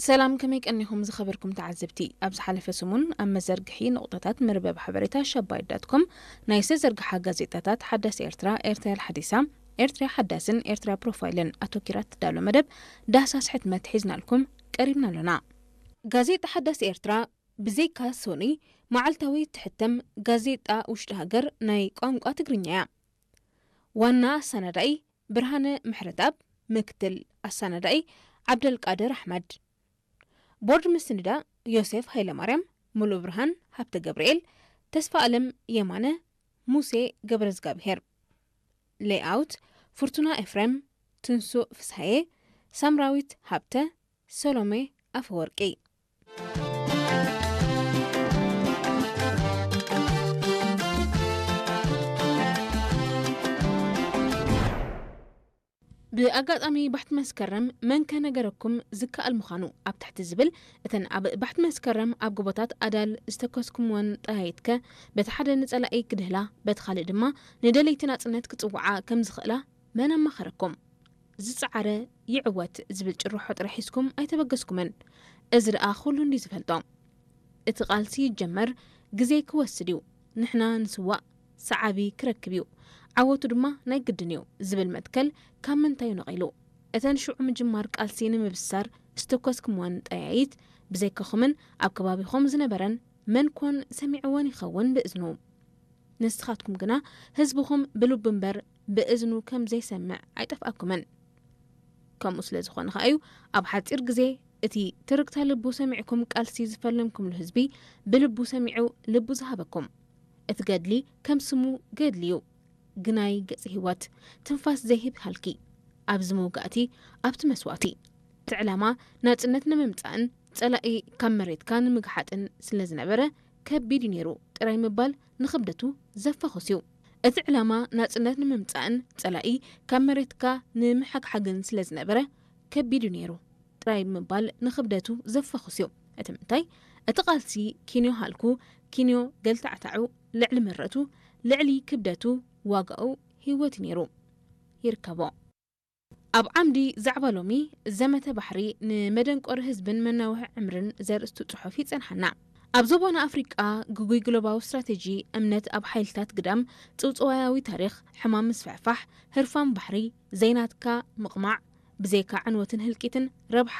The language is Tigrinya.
ሰላም፣ ከመይ ቀኒኹም ዝኸበርኩም ተዓዘብቲ? ኣብ ዝሓለፈ ሰሙን ኣብ መዘርግሒ ነቑጣታት መርበብ ሓበሬታ ሸባይት ዳት ኮም ናይ ዝተዘርግሓ ጋዜጣታት ሓዳስ ኤርትራ፣ ኤርትራ ሓዲሳ፣ ኤርትራ ሓዳስን ኤርትራ ፕሮፋይልን ኣተኪራ ትዳሎ መደብ ዳህሳስ ሕትመት ሒዝናልኩም ቀሪብና ኣሎና። ጋዜጣ ሓዳስ ኤርትራ ብዘይካ ሶኒ መዓልታዊ ትሕተም ጋዜጣ ውሽጢ ሃገር ናይ ቋንቋ ትግርኛ እያ። ዋና ኣሰናዳኢ ብርሃነ ምሕረትኣብ፣ ምክትል ኣሰናዳኢ ዓብደልቃድር ኣሕመድ። ቦርድ ምስንዳ ዮሴፍ ሃይለማርያም፣ ሙሉእ ብርሃን ሃብተ ገብርኤል፣ ተስፋ ኣለም የማነ፣ ሙሴ ገብረዝጋብሄር። ሌይኣውት ፍርቱና ኤፍሬም፣ ትንሱእ ፍስሃየ፣ ሳምራዊት ሃብተ፣ ሰሎሜ ኣፈወርቂ። ብኣጋጣሚ ባሕቲ መስከረም መንከ ነገረኩም ዝከኣል ምዃኑ ኣብ ትሕቲ ዝብል፣ እተን ኣብ ባሕቲ መስከረም ኣብ ጎቦታት ኣዳል ዝተኮስኩምወን ጠያይትከ፣ በቲ ሓደ ንጸላኢ ክድህላ፣ በቲ ካልእ ድማ ንደለይቲ ናጽነት ክጽውዓ ከም ዝኽእላ መን ኣማኸረኩም? ዝጸዓረ ይዕወት ዝብል ጭርሖ ጥራሕ ሒዝኩም ኣይተበገስኩምን። እዚ ደኣ ኩሉ እንዲ ዝፈልጦ። እቲ ቃልሲ ይጀመር፣ ግዜ ክወስድ እዩ። ንሕና ንስዋእ፣ ሰዓቢ ክረክብ እዩ። ዓወቱ ድማ ናይ ግድን እዩ ዝብል መትከል ካብ ምንታይ እዩ ነቒሉ? እተን ሽዑ ምጅማር ቃልሲ ንምብሳር ዝተኮስኩምወን ጠያይት፣ ብዘይካኹምን ኣብ ከባቢኹም ዝነበረን መን ኮን ሰሚዕወን ይኸውን ብእዝኑ? ንስኻትኩም ግና ህዝብኹም ብልቡ እምበር ብእዝኑ ከም ዘይሰምዕ ኣይጠፍኣኩምን። ከምኡ ስለ ዝኾነ ኸኣ እዩ ኣብ ሓጺር ግዜ እቲ ትርግታ ልቡ ሰሚዕኩም ቃልሲ ዝፈለምኩምሉ ህዝቢ ብልቡ ሰሚዑ ልቡ ዝሃበኩም። እቲ ገድሊ ከም ስሙ ገድሊ እዩ። ግናይ ገጽ ህይወት፣ ትንፋስ ዘይህብ ሃልኪ። ኣብዚ መውጋእቲ፣ ኣብቲ መስዋእቲ። እቲ ዕላማ ናጽነት ንምምጻእን ጸላኢ ካብ መሬትካ ንምግሓጥን ስለ ዝነበረ ከቢድ እዩ ነይሩ ጥራይ ምባል ንኽብደቱ ዘፋኹስ እዩ። እቲ ዕላማ ናጽነት ንምምጻእን ጸላኢ ካብ መሬትካ ንምሕግሓግን ስለ ዝነበረ ከቢድ እዩ ነይሩ ጥራይ ምባል ንኽብደቱ ዘፋኹስ እዩ። እቲ ምንታይ? እቲ ቃልሲ ኪንዮ ሃልኩ፣ ኪንዮ ገልታዕታዑ፣ ልዕሊ ምረቱ፣ ልዕሊ ክብደቱ፣ ዋጋኡ ህይወት እዩ ነይሩ። ይርከቦ። ኣብ ዓምዲ ዛዕባ ሎሚ፣ ዘመተ ባሕሪ ንመደንቆሪ ህዝብን መናውሒ ዕምርን ዘርእስቱ ጽሑፍ ይጸንሓና። ኣብ ዞባና ኣፍሪቃ ግጉይ ግሎባዊ ስትራተጂ፣ እምነት ኣብ ሓይልታት ግዳም፣ ጽውጽዋያዊ ታሪኽ፣ ሕማም ምስፍሕፋሕ፣ ህርፋን ባሕሪ፣ ዘይናትካ ምቕማዕ፣ ብዘይካ ዕንወትን ህልቂትን ረብሓ